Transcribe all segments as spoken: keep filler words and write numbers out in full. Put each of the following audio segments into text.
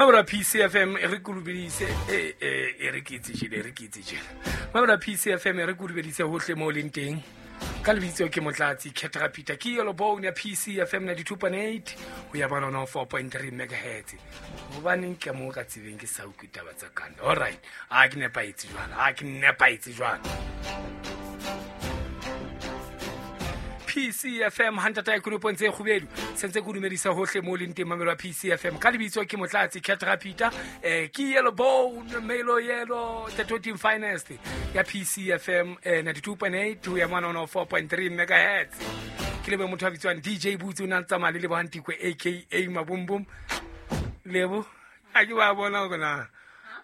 Mabra P C F M e re kulubedise e e re ke itse jele re ke itse jele. Mabra P C F M e re kulubedise hohle mo leng teng. Ka lebitso ke Motlatsi Ketra Peter ke yellow bone ya P C F M ninety-two point eight ho ya bona four point three megahertz. Hobaneng ke mo ka tsebeng ke sa utlwe taba tsa kanda. All right. A ke nepaetse jwale. A ke nepaetse jwale. P C F M hantata e kulupong tse kgubedu sentse ke dumedisa hohle mo leng teng mamelo P C F M ka lebitso ke Motlatsi Ketra Peter eh ke yellow bone melo yellow the total finest ya P C F M eh, ninety-two point eight to ya one oh four point three megahertz ke lebe motho a bitswang D J Boots o na tsamaya le Lebo Hantikwe aka Mabumbum Lebo a ke ba bona gona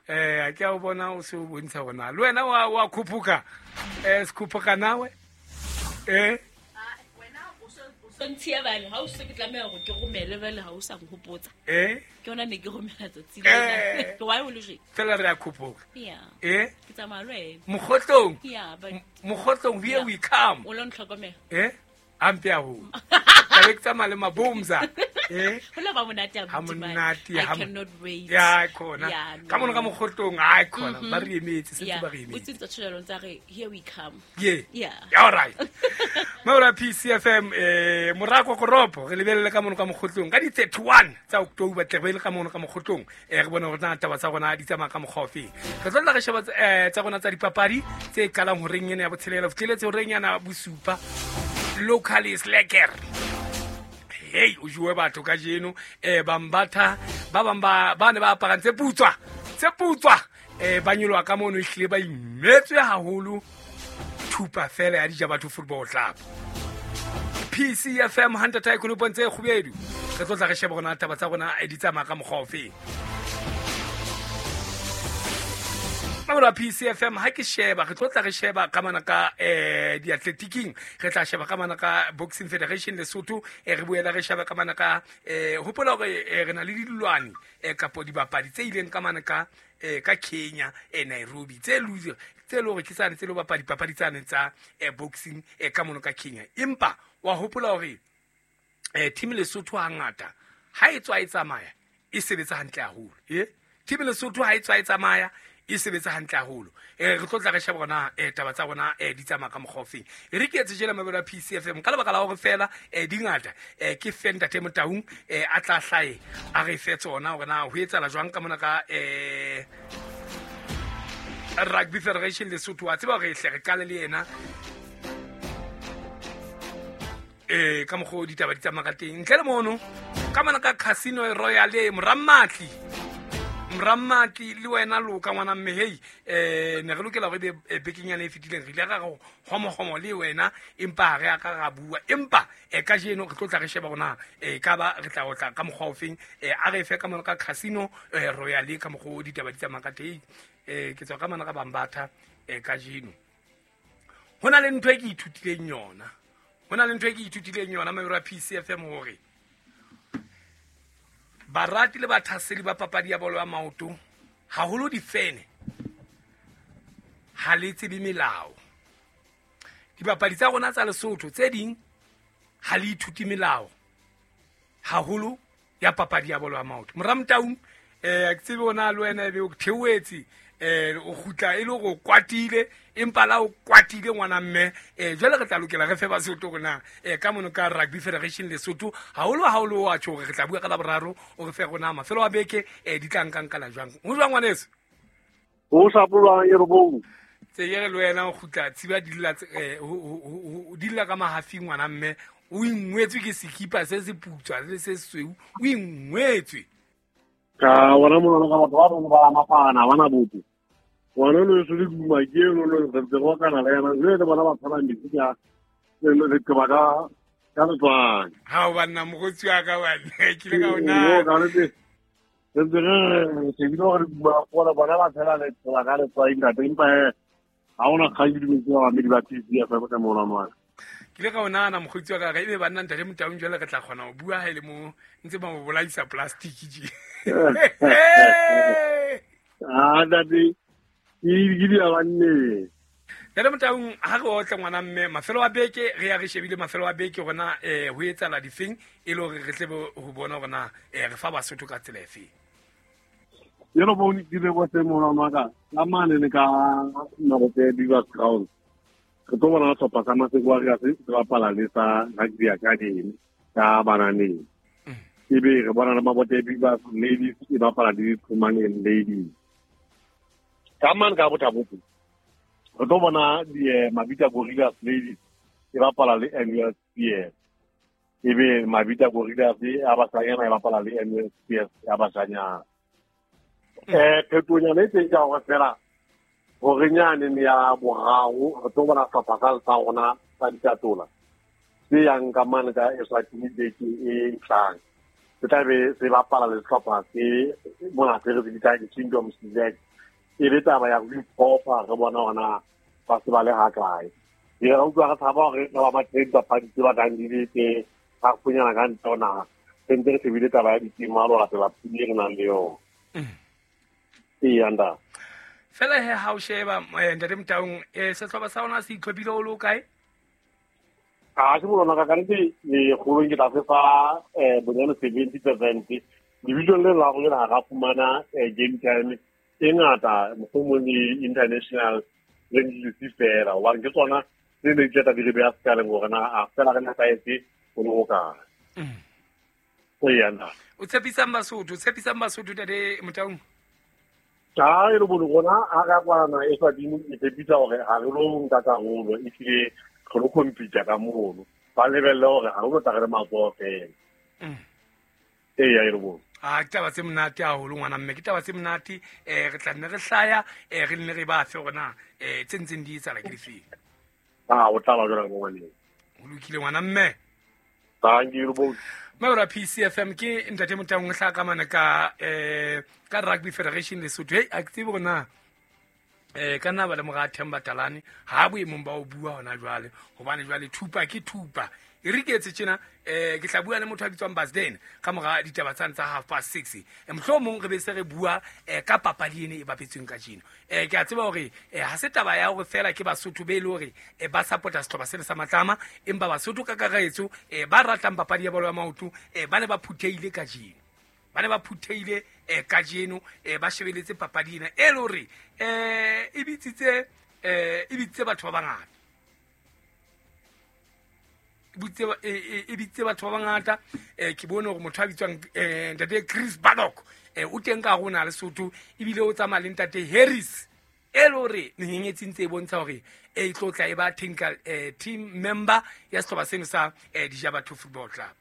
eh a ke a bona o se o bontsha gona le wena wa wa khuphuka eh skhuphuka nawe eh Ntshiya bale ha o se ke tlameha hore ke romele bale ha o sa nghopotsa. Eh? Ke yona ne ke romela tsatsi lena. Ke why o le je? Fela re a khophoka. Yeah. Eh? Ke tsamaya le wena. Mokgotlong. Yeah, but Mokgotlong here we come. O lo ntlhokomela. Eh? Ampe a ho. Ka ke tsamaya le Mabumza. Eh? Ho la ba monate a monate. I cannot wait. Yeah, khona. Ka mona ka mokgotlong ai khona ba re emetse sentse ba re emetse. O tsintsa tshelo ntsa re here we come. Yeah. Yeah. All right. Mora P C F M eh morako koropo re lebelele ka mona ka mokgotlong ka di thirty-one tsa October tle re le ka mona ka mokgotlong eh re bona hore na taba tsa rona di tsamaya ka mokgwa ofe. Re tlo tla re sheba eh tsa rona tsa dipapadi tse qalang horeng ena ya botshelela fitlheletse horeng yana bosupa local is lekker. Hey o jwe batho ka jeno eh bambatha ba bang ba ba ne ba aparang tse putswa tse putswa eh ba nyoloha ka mono ehlile ba imetswe haholo thupa fela ya dija batho football club. P C F M hantata e kulupong tse kgubedu re tlo tla re sheba rona taba tsa rona di tsamaya ka mokgwa ofe. Mabra P C F M ha ke sheba re tlo tla re sheba ka mana ka eh di-athletiking re tla sheba ka mana ka Boxing Federation Lesotho e re buela re sheba ka mana ka eh hopola hore re na le dilwane eh kapo dibapadi tse ileng ka mana ka eh ka Kenya e Nairobi tse lose tse lo re ke tsane tse lo bapadi papadi tsane tsa eh boxing eh ka mono ka Kenya empa wa hopola hore eh team Lesotho hangata ha e tswa e tsamaya e sebetsa hantle haholo eh team Lesotho ha e tswa e tsamaya e sebetsa hantle haholo eh re tlo tla re sheba rona eh taba tsa rona eh di tsamaya ka mokgwa ofeng e re ke etse jela mabelo a P C F M ka lebaka la hore fela eh dingata eh ke Fenda Temotaung eh a tla hlae a re fe tsona hore na ho etsala jwang ka mona ka eh Rugby Federation Lesotho wa tseba hore hle re qale le yena eh ka mokgwa ditaba di tsamaya ka teng ntle le mono ka mona ka Casino Royale Morammatli Morammatli le wena loka ngwana mme hei eh ne re lokela hore be bekeng yana e fetileng re ile ra go homohomo le wena empa re a ka ra bua empa e ka jeno re tlo tla re sheba rona e ka ba re tla o tla ka mokgwa ofeng eh a re fe ka mona ka Casino Royale ka mokgwa ditaba di tsamaya ka teng eh ke tswa ka mona ka Bambatha eh ka jeno hona le ntho e ke ithutileng yona hona le ntho e ke ithutileng yona mabero a P C F M hore barati le bathaseli ba papadi ya bolo ya maoto haholo difene ha le tsebe melao dibapadi tsa rona tsa Lesotho tse ding ha le ithuti melao haholo ya papadi ya bolo ya maoto Moramtaung eh ke tsebe ona le wena ebe o theoetse eh o kgutla e le go kwatile empa la o kwatile ngwana mme eh jwale re tla lokela re fe Basotho rona eh ka mono ka Rugby Federation Lesotho haholo haholo wa tjho re tla bua ka Laboraro o re fe rona mafelo a beke eh di tla nkang kala jwang ho jwang ngwaneso o sa pulwa e robong tse yere le wena o kgutla tsiba dilla eh o dilla ka mahafi ngwana mme o ingwetswe ke sekipa se se putswa le se sweu o ingwetswe ka wona mona ka batho ba rona ba mafana bana botho wona lo se le duma ke lo lo re tse go kana le yana le bona ba tshwana metsi ka le ke ba ka ka letswai ha o banna mogotsi wa ka bana ke le ka ona ka le re ntse re shebile hore ba gola bona ba tshela le tsela ka letswai ntate empa ha ona kgang ke dumetse ba bamedi ba P C F M ka mona ngwana ke le ka ona na mogotsi wa ka ga ebe banna ntate Motaung jwale re tla kgona ho bua ha ile mo ntse ba mo bolaisa plastic je ah ntate ke di a banne Ntate Motaung ha re otla ngwana mme mafelo a beke re ya re shebile mafelo a beke rona eh ho etsala difeng e le hore re tle ho bona hore na eh re fa Basotho ka tsela efe. Yelo bone ke le go se mona maka ka mane le ka Mabote Beavers Ground. Re tlo bona sehlopha sa Maseko Warriors se bapala le sa Rugby Academy ka Bananeng. Ebe re bona le Mabote Beavers Ladies e bapala le Qhumaneng Ladies. Ka mane ka Botha-Bothe re tlo bona di Mabita Gorillas Ladies e bapala le N U S P S. Ebe Mabita Gorillas ya basanyana e bapala le N U S P S ya basanyana. Eh phetonya le teng ka hore fela hore nyane ya boraro re tlo bona sehlopha sa rona sa Ditatola se yang ka mane ka Eswatini beke e tlang. Se tla be se bapala le sehlopha se mona se re se bitsang di-Kingdom Select. E le taba ya ho iphofa re bona hore ba se ba le ha kae. Re utlwa re tshaba hore ba ba teng dipapadi tse batlang di le teng ha funyana ka ntle ho naha. Se ntse re shebile taba ya ditima lo latela pula e re nang le yona. Ee, anda. Fela he ha o sheba ntate Motaung, eh sehlopha sa rona se itlhophile o le kae? A ke bona ka kannete lekgolong ke tla se fa eh bonyane seventy percent. Division le la rona ha ra fumana game time e ngata mohlomong le international friendly fela hobane ke tsona tse ne di tla di re beha sekaleng hore na a fela re nepahetse ho le hokae. Ee, anda. O tshepisang Basotho, o tshepisang Basotho ntate Motaung? Cha e le bone rona ha ra kwana Eswatini e tshepisa hore ha re lo nka karolo ehlile re lo compete ka mono. Ba lebelle hore ha re lo tla re le matsoho fela. Ee, e le bone. Ah, ke taba tse monate haholo ngwana mme, ke taba tse monate. Eh re tla nne re hlaya, eh re nne re ba fe hore na eh tse ntseng di etsahala ke difeng. Ah, o tla ba jwalo ngwaneng. Ho lokile ngwana mme. Thank you both. Mawra P C F M ke ntate Motaung hla ka mane ka eh ka Rugby Federation Lesotho. Hey, a ke tsebe hore na eh ka nna ba le mora Themba Talane ha boemong ba o bua hona jwale hobane jwale thupa ke thupa. E re ke etse tjena eh ke tla bua le motho a bitswang Basden ka mora ditaba tsane tsa half past six. E mohlomong re be se re bua eh ka papadi ene e bapetsweng kajeno. Eh ke a tseba hore eh ha se taba ya hore fela ke Basotho be le hore eh ba support-a sehlopha sena sa Matlama, empa Basotho ka kakaretso eh ba ratang papadi ya bolo ya maoto eh ba ne ba phuthehile kajeno. Ba ne ba phuthehile eh kajeno eh ba shebeletse papadi ena e le hore eh e bitsitse eh e bitsitse batho ba bangata. E bitse batho ba bangata. Eh ke bone hore motho a bitswang eh ntate Chris Badok eh o teng ka rona Lesotho ebile o tsamaya le ntate Harris e le hore menyenyetsi ntse e bontsha hore e tlo tla e ba technical eh team member ya sehlopha seno sa eh Dijabatho Football Club.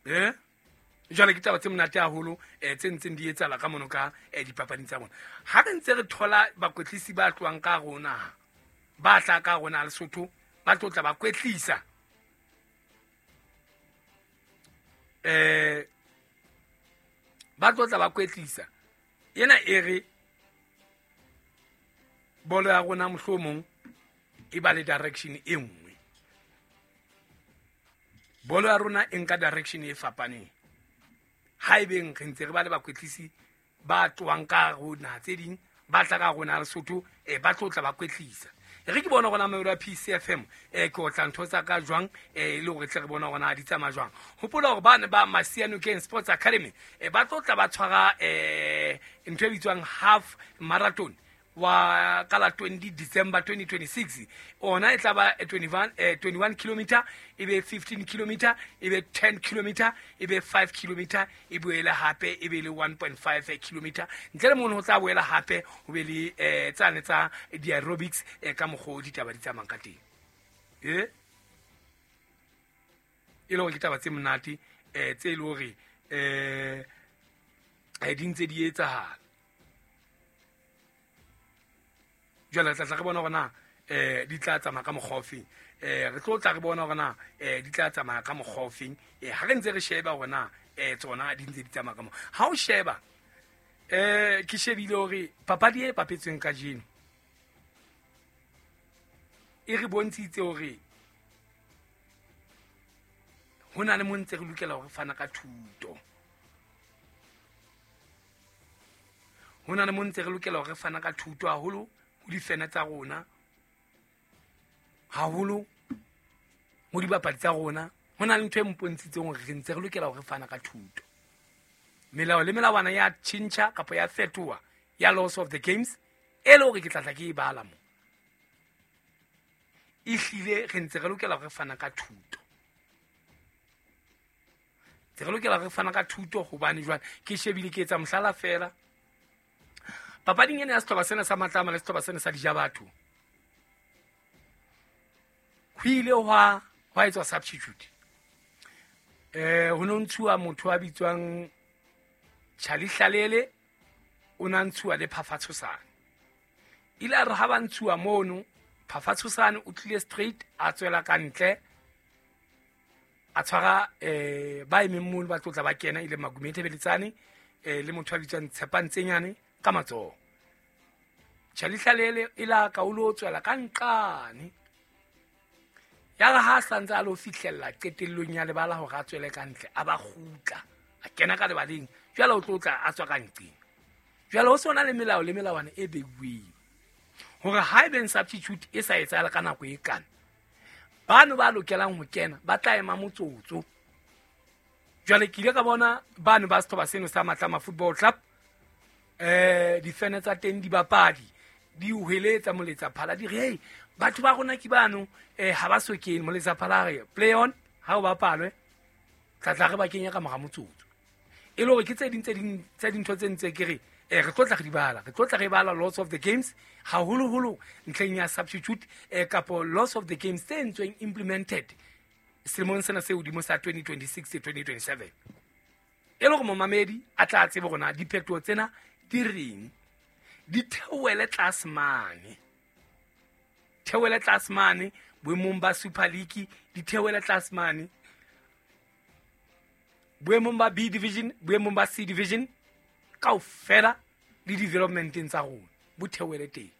Eh jwale ke taba tse monate haholo eh tse ntseng di etsahala ka mono ka eh dipapading tsa bona. Ha re ntse re thola bakwetlisi ba tlohang ka rona ba tla ka rona Lesotho ba tlo tla ba kwetlisa eh ba tlo tla ba kwetlisa yena e re bolo ya rona mohlomong e ba le direction e nngwe. Bolo ya rona e nka direction e fapaneng ha ebeng re ntse re ba le bakwetlisi ba tlohang ka rona tse ding ba tla ka rona Lesotho eh ba tlo tla ba kwetlisa. Re ke bona rona Mamelodi P C F M eh ke otla ntho tsa ka jwang eh le hore tle re bona rona di tsamaya jwang. Hopola hore bana ba Masianokeng Sports Academy eh ba tlo tla ba tshwara eh ntho e bitswang half marathon wa ka la twenty December twenty twenty-six. Ona e tla ba twenty-one eh twenty-one kilometer e be fifteen kilometer e be ten kilometer e be five kilometer e boele hape e be le one point five kilometer. Ntle le mono ho tla boela hape ho be le eh tsane tsa di aerobics eh ka mokgo ditaba di tsamayang ka teng. Eh e le hore ke taba tse monate eh tse le hore eh di ntse di etsahala. Jwale re tla tla re bona hore na eh di tla tsamaya ka mokgwa ofeng. Eh re tlo tla re bona hore na eh di tla tsamaya ka mokgwa ofeng. Eh ha re ntse re sheba hore na eh tsona di ntse di tsamaya ka mo. Ha o sheba eh ke shebile hore papadi e bapetsweng kajeno e re bontshitse hore ho na le mo ntse re lokela hore fana ka thuto. Ho na le mo ntse re lokela hore fana ka thuto haholo ho difene tsa rona, haholo ho dibapadi tsa rona. Ho na le ntho e mpontshitseng hore re ntse re lokela hore fana ka thuto. Melao le melawana ya tjhentjha kapa ya fetoha ya laws of the games e le hore ke tla tla ke e bala mo. Ehlile re ntse re lokela re fana ka thuto. Tse re lokela re fana ka thuto hobane jwale ke shebile ke etsa mohlala fela. Papading ena ya sehlopha sena sa Matlama le sehlopha sena sa Dijabatho, ho ile hwa hwa etswa substitute. Eh ho no ntshuwa motho a bitswang Charlie Hlalele, o na ntshuwa le Phafatshosane. Ile a re ha ba ntshuwa mono, Phafatshosane o tlile straight a tswela ka ntle, a tshwara eh ba emeng mono ba tlotla ba kena ile Magumethe Beletsane eh le motho a bitswang Tshepantsenyane ka matsoho. Charlie Hlalele ila ka o lo tswela ka nqane. Ya re ha santse a lo fihlella qetellong ya lebala hore a tswele ka ntle, a ba kgutla, a kena ka lebaleng, jwale o tlotla a tswa ka nqeng. Jwale ho sona le melao le melawana e beuweng hore ha ebe substitute e sa etsahala ka nako e kana, bano ba lokelang ho kena ba tla ema motsotso. Jwale ke ile ka bona bano ba sehlopha seno sa Matlama Football Club, eh difene tsa teng dibapadi di hweletsa moletsa phala di re hey, batho ba rona ke bano eh ha ba so kene. Moletsa phala re play on, ha o bapalwe tla tla re ba kenya ka mora motsotso. E le hore ke tse ding tse ding tse dintho tse ntse ke re eh re tlotla re di bala, re tlotla re bala lots of the games haholoholo ntlheng ya substitute eh kapo lots of the games tse ntsweng implemented selemong sena se hodimo sa twenty twenty-six to twenty twenty-seven. E le hore momamedi a tla tsebe hore na diphetoho tsena di reng, di theohele tlase mane, theohele tlase mane boemong ba Super League, di theohele tlase mane boemong ba B division, boemong ba C division, kaofela le developmenteng tsa rona bo theohele teng.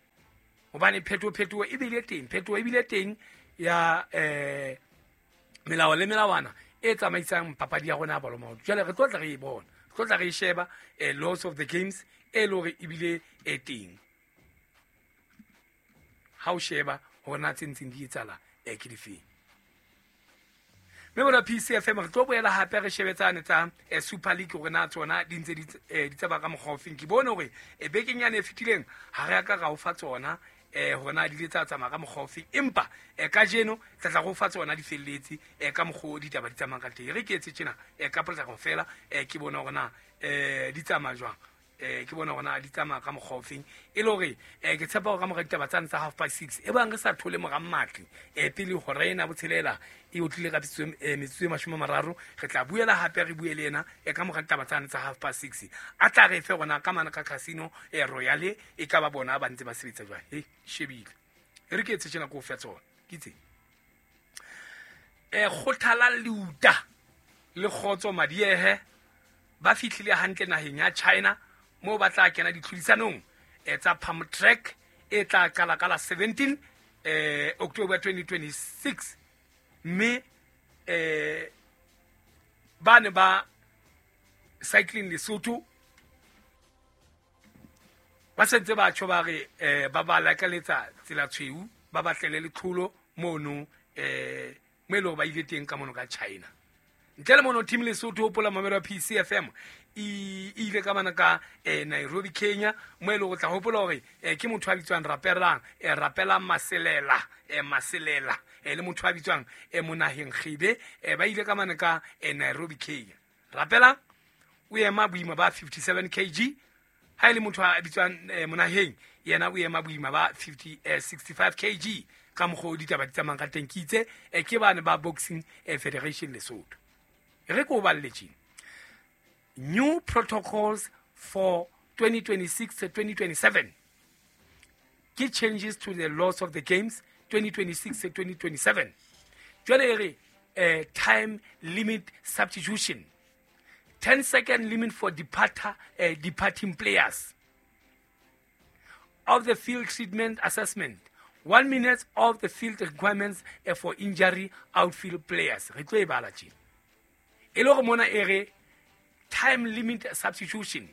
Hobane phetoho phetoho e bile teng, phetoho e bile teng ya eh melao le melawana e tsamaisang papadi ya rona ya bolo maoto. Jwale re tlo tla re e bona, re tlo tla re e sheba eh laws of the games e le hore ebile e teng. Ha o sheba hore na tse ntseng di etsahala eh ke difeng. Mme bona P C F M re tlo boela hape re shebetsane tsa eh, Super League hore na tsona di ntse di eh, di tsamaya ka mokgwa ofeng. Ke bone hore eh, bekeng yane e fetileng ha re a ka ra o fa tsona eh hore na di ile tsa tsamaya ka mokgwa ofeng, empa eh, kajeno tla tla go fa tsona di felletse eh, ka mokgwa o ditaba di tsamayang ka teng. Re ke etse tjena eh, ka potlako fela eh, ke bone hore na eh, di tsamaya jwang, eh ke bona hore na di tsamaya ka mokgwa ofeng. E le hore eh ke tshepa hore ka mora ditaba tsane tsa half past six e bang re sa thole mora Mmatli eh pele hora ena botshelela e otlile ka metsotso e mashome a mararo, re tla buela hape re bue le yena e ka mora ditaba tsane tsa half past six a tla re fe rona ka mana ka Casino e Royale e ka ba bona ba ntse ba sebetsa jwang. He shebile e re ke etse tjena ko fe tsona ke tse eh Kgothala Leuta le Kgotso Madiehe ba fihlile hantle naheng ya China mo ba tla kena ditlhodisanong eh tsa Palm Track e tla qala ka la seventeen eh October twenty twenty-six. Mme eh ba ne ba Cycling Lesotho ba sentse ba tjho ba re eh ba ba lakaletsa tsela tshweu, ba batlele letlholo mono eh mo ile ba ile teng ka mono ka China. Ntle le mono team Lesotho hopola mamelo P C F M e ile ka bana ka eh, Nairobi Kenya mo ile go tla hopola hore eh, ke motho a bitswang Rapelang eh, Rapelang Maselela eh, Maselela eh, le motho a bitswang eh, Monaheng Kgebe eh, ba ile ka bana ka eh, Nairobi Kenya. Rapelang o ema boima ba fifty-seven kilograms, ha ile motho a bitswang eh, Monaheng yena o ema boima ba fifty eh, sixty-five kilograms. Ka mokgwa o ditaba di tsamayang ka teng ke itse eh, ke bane ba Boxing eh, Federation Lesotho. Re ko balletseng new protocols for twenty twenty-six to twenty twenty-seven. Key changes to the laws of the games twenty twenty-six to twenty twenty-seven. Jwale re eh, time limit substitution, ten second limit for departure, uh, departing players. Of the field treatment assessment, one minute of the field requirements uh, for injury outfield players. Re tlo e bala tjena. E le hore mona e re time limit substitution,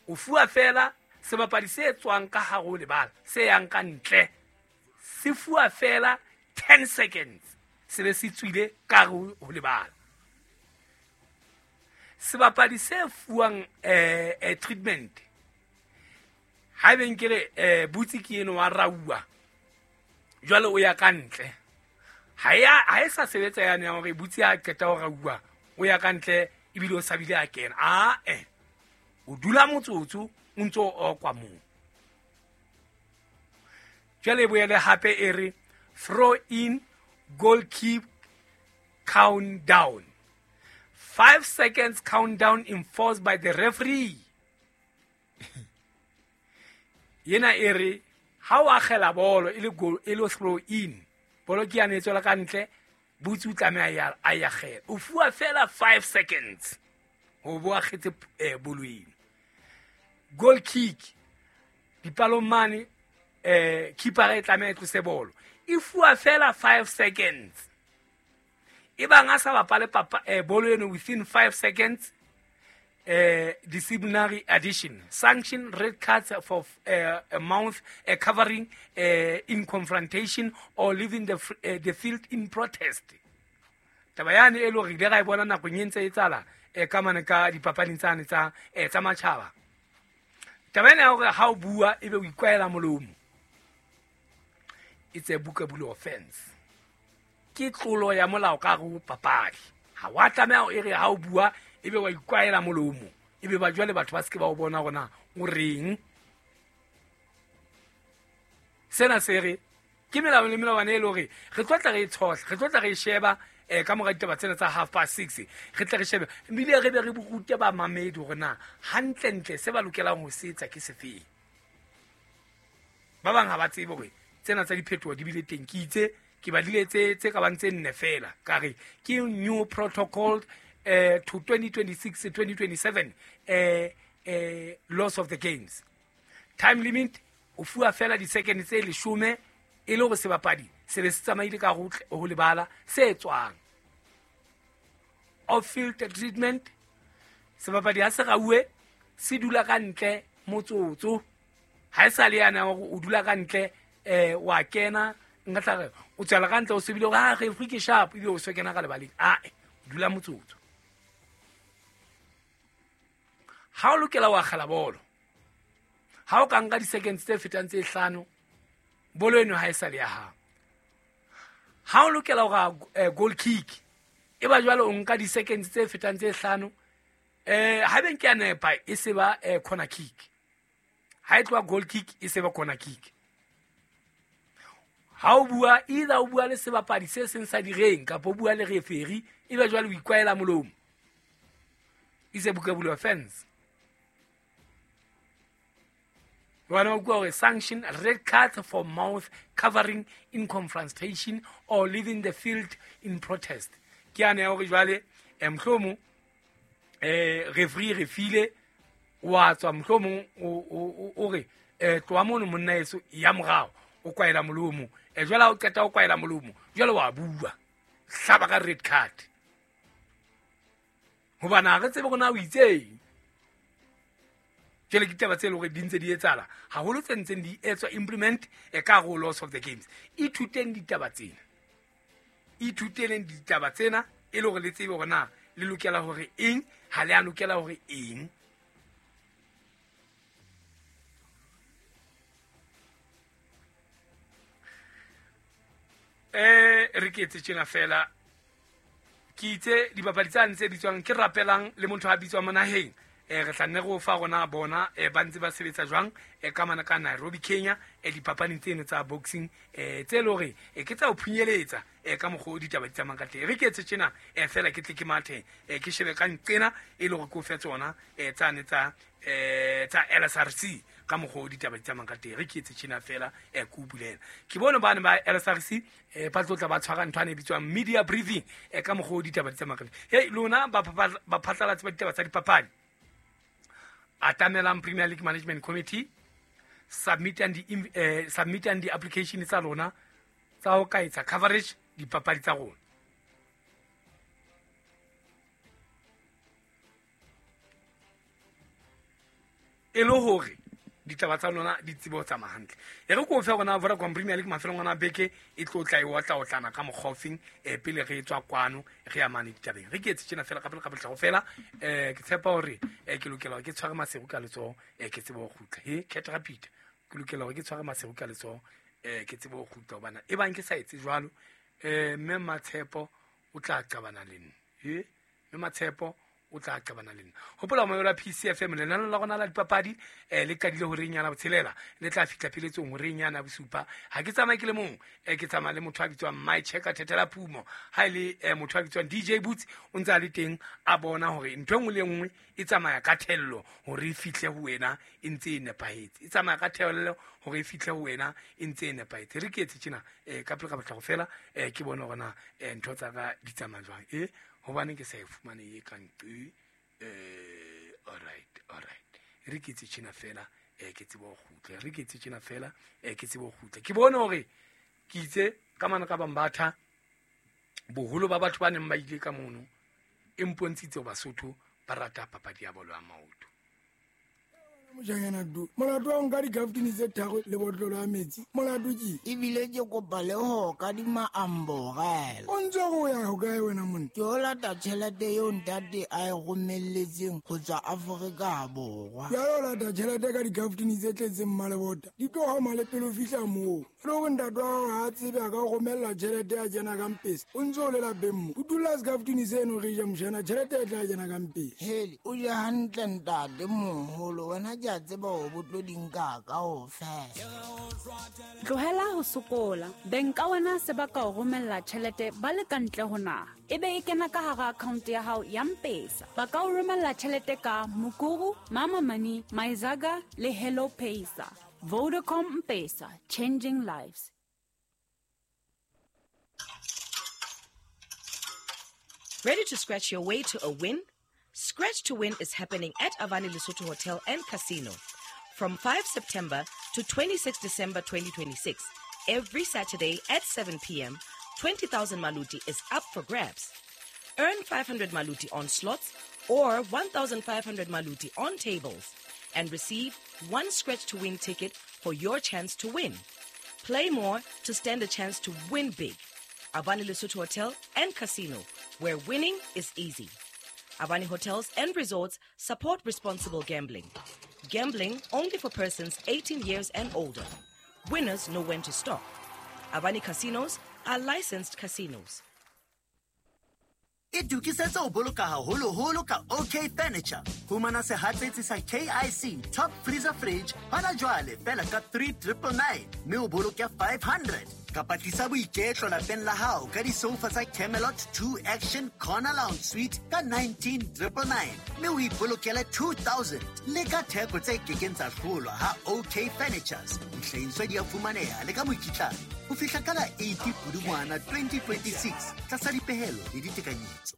o fuwa fela sebapadi se tswang ka hare ho lebala se yang ka ntle, se fuwa fela ten seconds se be se tswile ka hare ho lebala. Sebapadi se fuwang eh, eh, treatment ha ebe nkere eh, butsi ke eno wa rauwa jwale o ya ka ntle ha ya ha e sa sebetsa yane ya hore butsi a qeta ho rauwa o ya ka ntle ebile o sabile a kena a eh o dula motsotso o ntso o okwa moo. Jwale e boele hape e re throw in goal keep countdown. Five seconds countdown enforced by the referee. Yena e re ha o akgela bolo e le goal e le throw in bolo ke yane e tswela ka ntle butsi o tlameha a ya akgela o fuwa fela five seconds ho bo akgetse eh, bolo eno. Goal kick dipalong mane eh keeper e tlameha e tlose bolo e fuwa fela five seconds. E bang a sa bapale papa eh, bolo eno within five seconds eh, disciplinary addition sanction red cards for eh, a mouth eh, covering eh, in confrontation or leaving the, eh, the field in protest. Taba yane e le hore ile ra e bona nakong e ntse e tsala eh, ka mane ka dipapading tsane tsa eh, tsa matjhaba. Taba ena ya hore ha o bua ebe o ikwaela molomo it's a bookable offense. Ke tlolo ya molao ka hare ho papadi. Ha wa tlameha o ere ha o bua ebe wa ikwaela molomo ebe ba jwale batho ba se ke ba o bona hore na o reng. Sena se re ke melao le melawana e le hore re tlo tla re e tshohla, re tlo tla re e sheba eh, ka mora ditaba tsena tsa half past six re tle re shebe ebile re be re rute bamamedi hore na hantlentle se ba lokelang ho se etsa ke sefeng. Ba bang ha ba tsebe hore tsena tsa diphetoho di bile teng. Ke itse ke badile tse tse ka bang tse nne fela ka re ke new protocol eh, to twenty twenty-six twenty twenty-seven eh, eh, laws of the games. Time limit o fuwa fela di-second tse leshome e le hore sebapadi se be se tsamaile ka ho ho lebala se tswang. Off field treatment sebapadi ha se rauwe se dula ka ntle motsotso ha e sa le yana hore o dula ka ntle eh wa kena nka tla re o tswela ka ntle o sebile hore ha referee ke sharp ebile o so kena ka lebaleng a o dula motsotso. Ha o lokela wa akgela bolo ha o ka nka di-seconds tse fetang tse hlano bolo eno ha e sa le ya hao. Ha o lokela hore goal kick e ba jwale o nka di-seconds tse fetang tse hlano eh ha beng ke a nepa e se ba corner kick. Ha e tloha goal kick e se ba corner kick. Ha o bua either o bua le sebapadi se seng sa direng kapa o bua le referee e ba jwale o ikwaela molomo. It's a bookable offense. Wa go sanction red card for mouth covering in confrontation or leaving the field in protest. Ke ane ya hore jwale eh, mohlomong eh referee re file wa tswa mohlomong o o re eh tloha mono monna eso ya morao o kwaela molomo e jwale ha o qeta o kwaela molomo jwale wa bua hlaba ka red card hobane ha re tsebe hore na o itseng. Jwale ke ditaba tse leng hore di ntse di etsahala haholo tse ntseng di etswa implement e ka hare ho laws of the games. Ithuteng ditaba tsena, ithuteleng ditaba tsena e le hore le tsebe hore na le lokela hore eng ha le a lokela hore eng. Eh re ke etse tjena fela ke itse dibapadi tsane tse bitswang ke rapelang le motho a bitswang monaheng eh re tla nne go fa rona bona eh ba ntse ba sebetsa jwang eh ka mana ka Nairobi Kenya eh dipapading tseno tsa boxing eh tse le hore eh ke tsa ho phunyeletsa eh ka mokgwa o ditaba di tsamayang ka teng. Re ke etse tjena eh fela ke tle ke mathe eh ke shebe ka nqena e le hore ke o fe tsona eh tsane tsa eh tsa L S R C ka mokgwa o ditaba di tsamayang ka teng. Re ke etse tjena fela eh ke o bulela ke bone bane ba L S R C eh ba tlotla ba tshwara ntho ane e bitswang media briefing eh ka mokgwa o ditaba di tsamayang ka teng. Hey lona ba ba phatlalatsi ba ditaba tsa dipapadi atamelang Premier League Management Committee submit and the eh, submit and the application tsa lona tsa ho ka etsa coverage dipapadi tsa rona. E le hore ditaba tsa lona di tsebe ho tsamaya hantle. E re ko fe rona Vodacom Premier League mafelong ana beke e tlo tla e otla otlana ka mokgofing eh pele re tswa kwano re ya mane ditabeng. Re ke etse tjena fela ka pele ka pele fela eh ke tshepa hore eh ke lokela hore ke tshware Maseru ka letsoho eh ke tsebe ho kgutla. He Cat Rapid ke lokela hore ke tshware Maseru ka letsoho eh ke tsebe ho kgutla hobana e bang ke sa etse jwalo eh mme Matshepo o tla qabana le nna. He mme Matshepo o tla qabana le nna. Hopola moyo la P C F M lenaneo la rona la dipapadi eh le qadile horeng yana botshelela le tla fihla pheletsong horeng yana bosupa. Ha ke tsamaye ke le mong eh ke tsamaya le motho a bitswang My Checker Thethela Phumo. Ha ile eh motho a bitswang D J Boots o ntse a le teng a bona hore ntho e nngwe le nngwe e tsamaya ka thello hore e fihle ho wena e ntse e nepahetse. E tsamaya ka thello hore e fihle ho wena e ntse e nepahetse. Re ke etse tjena eh ka pele ka batla go fela eh ke bone hore na ntho tsa ka di tsamaya jwang. Eh hobane ke sa e fumane e kang eh all right all right re ke tse tjena fela eh ke tsebe ho kgutla re ke tse tjena fela eh ke tsebe ho kgutla ke bone hore ke itse ka mana ka Bambatha boholo ba batho ba neng ba ile ka mono e mpontshitse Basotho ba rata papadi ya bolo ya maoto. Mojanyana du molato wa nka dikaftini tse tharo le botlolo ya metsi molato ke ebile ke kopa le ho ka di maamborela o ntse go ya ho kae wena monna ke o lata tjhelete eo ntate a e romelletseng ho tswa Afrika Borwa ya o lata tjhelete ka dikaftini tse tletseng mmalebota di tlo ha male pele o fihla moo le hore ntate wa hao ha a tsebe a ka o romella tjhelete ya kena ka mpesa o ntse o le lapeng mo o dula sekaftini seno re ja mojana tjhelete e tla kena ka mpesa hele o je hantle ntate moholo wena ke a tseba hore bo tlo di nka kaofela. Tlohela ho sokola. Beng ka wena se ba ka o romella tjhelete ba le ka ntle ho naha. Ebe e kena ka hara account ya hao ya M-Pesa. Ba ka o romella tjhelete ka Mukuru, Mama Money, Myzaga le Hello Pesa. Vodacom M-Pesa, changing lives. Ready to scratch your way to a win? Scratch to Win is happening at Avani Lesotho Hotel and Casino from five September to twenty-sixth December twenty twenty-six. Every Saturday at seven p.m., twenty thousand Maluti is up for grabs. Earn five hundred Maluti on slots or one thousand five hundred Maluti on tables and receive one Scratch to Win ticket for your chance to win. Play more to stand a chance to win big. Avani Lesotho Hotel and Casino, where winning is easy. Avani Hotels and Resorts support responsible gambling. Gambling only for persons eighteen years and older. Winners know when to stop. Avani Casinos are licensed casinos. Itokisetse ho boloka haholoholo ka OK Furniture. Fumana sehatsetsi sa K I C Top Freezer Fridge hona jwale fela ka three triple nine mme o boloke five hundred. Kapa tlisa boiketlo lapeng la hao ka disofa tsa Camelot two Action Corner Lounge Suite ka nineteen triple nine mme o ipolokele two thousand. Le ka theko tse kekeng tsa hlolwa ha OK Furnitures. Dihlahiswa di a fumaneha le ka mokitlane ho fihla ka la eighty Pudungwana twenty twenty-six tlasa dipehelo le ditekanyetso.